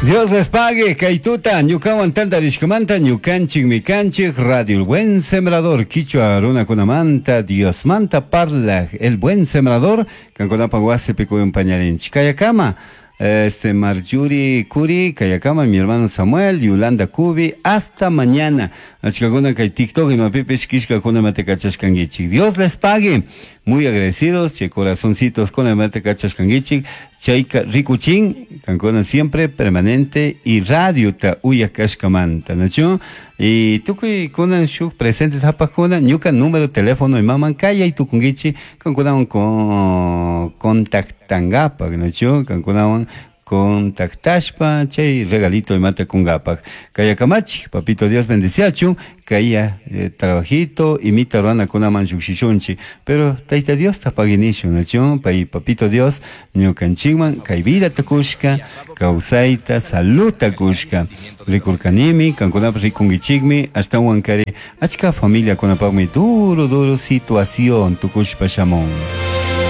Dios les pague, kay tuta, ñukawan tantarishkamanta, ñukanchikmi kanchik, Radio El Buen Sembrador, Quichua runakunamanta, Diosmanta parlaj, El Buen Sembrador, kankunapaj wasipi kuyunpañarinchik. Kayakama, este Marjorie Curi, Kayakama, mi hermano Samuel, Yolanda Cubi, hasta mañana. Achkakuna kay TikTok imapipish killkakuna imata kachashkankichik. Dios les pague. Muy agradecidos, chay corazoncitos kuna imata kachashkankichik. Chayka rikuchin, kankuna siempre permanente y radiota uyakashkamanta, ¿nachu? Y tukuy kunan shuk presentes hapakuna, ñuka número teléfono imaman kayay tukunkichik, kankunawan con contactangapak, ¿nachu? Kankunawan contactashpa chay regalito imata kungapak. Kayakamachi, papito Dios bendeciachun, kaya trabajito imita runakunaman llukshishunchik, pero Tayta Dios tapaginishun, ¿nachu? Pay papito Dios ñukanchikman kay vida tukushka, kawsayta, saludta kushka. Rikurkanimi, kankunapas rikunkichikmi, ashtawan kari achka familiakunapakmi duro duro situación tukushpa shamun.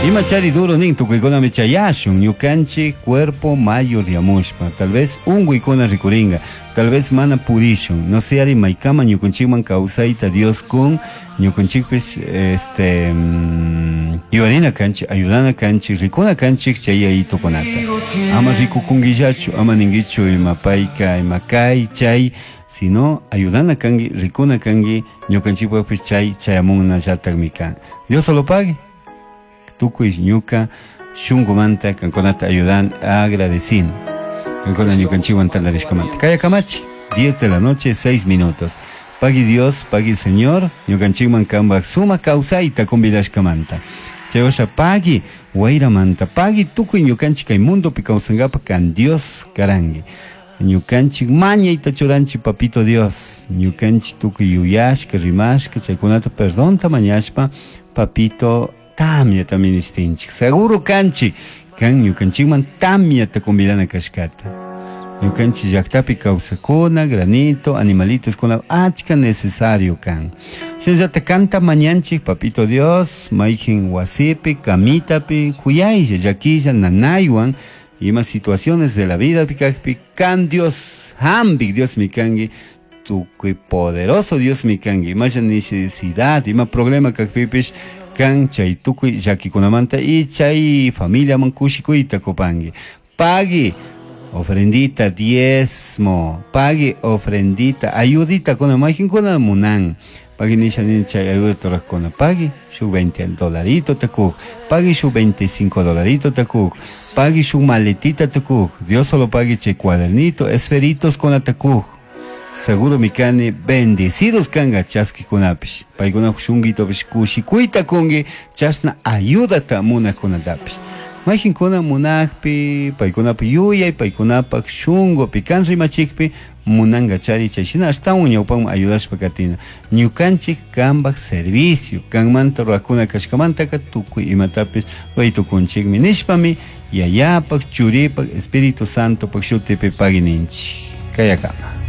Ima chari duro nin tukuykunami chayashun ñukanchik cuerpo mayoryamushpa, tal vez unkuykuna rikuringa, tal vez mana purishun, no sé ari maykama ñukanchikman kawsayta Dios kun ñukanchikpish este yuyarina kanchik, ayudana kanchik, rikuna kanchik chay yayitukunata. Ama rikukunkillachu, ama ninkichu ima payka, ima kay, chay, sino ayudana kanki, rikuna kanki, ñukanchikpakpish chay chayamunnallatakmi kan. Dios solo pague. Tukuy ñuka shunkumanta kankunata ayudan agradecin. Kankuna ñukanchikwan tantarishkamanta. Kayakamachi, 10 de la noche, 6 minutos. Pagui Dios, pagui Señor, ñukanchikman kanpak sumak kawsayta convidashkamanta. Chaywasha pagui wayramanta, pagui tukuy ñukanchik kay mundopi kawsankapak kan Dios karanki. Ñukanchik mañayta churanchik papito Dios, ñukanchik tukuy yuyashka, rimashka, chaykunata perdonta mañashpa, papito tamyata ministinchik. Seguro kanchik, kan ñukanchikman tamyata convidana kashkata. Ñukanchik llaktapi kawsakuna, granito, animalitos kuna achka necesario kan. Shinallata kanta mañanchik, papito Dios, mayjin wasipi, kamitapi, kuyaylla, llakilla, nanaywan, ima situaciones de la vida pikakpi, kan Dios, hambik Dios mi kanki, tukuy poderoso Dios mi kanki, imalla necesidad, ima problema kakpipish, kan chay tukuy llakikunamanta y chay familiaman kushikuyta kupanki. Pagui ofrendita, diezmo, pagui ofrendita, ayudita kuna, mayjinkuna munan. Pagui nisha nin chay ayuda torajkuna, pagui shuk 20 dolarito takuk, pagui shuk 25 dolarito takuk, pagui shuk maletita takuk, Dios solo pagui chay cuadernito, esferitos kuna takuk. Seguro mi kani bendecidos kanga chaskikunapish, paykuna shunguitopish kushikuyta kunki, chashna ayudata munakunatapish. Mayjinkuna munakpi, paykunapak yuyay, paykunapak shungupi kan rimachikpi, munanga chari chay shina ashtawan ñawpaman ayudashpa katina. Ñukanchik kanpak servicio, kanmanta rurakuna kashkamantaka tukuy imatapish ruraytukunchikmi nishpami, Yayapak, Churipak, Espíritu Santopak shutipi pagininchik. Kayakama.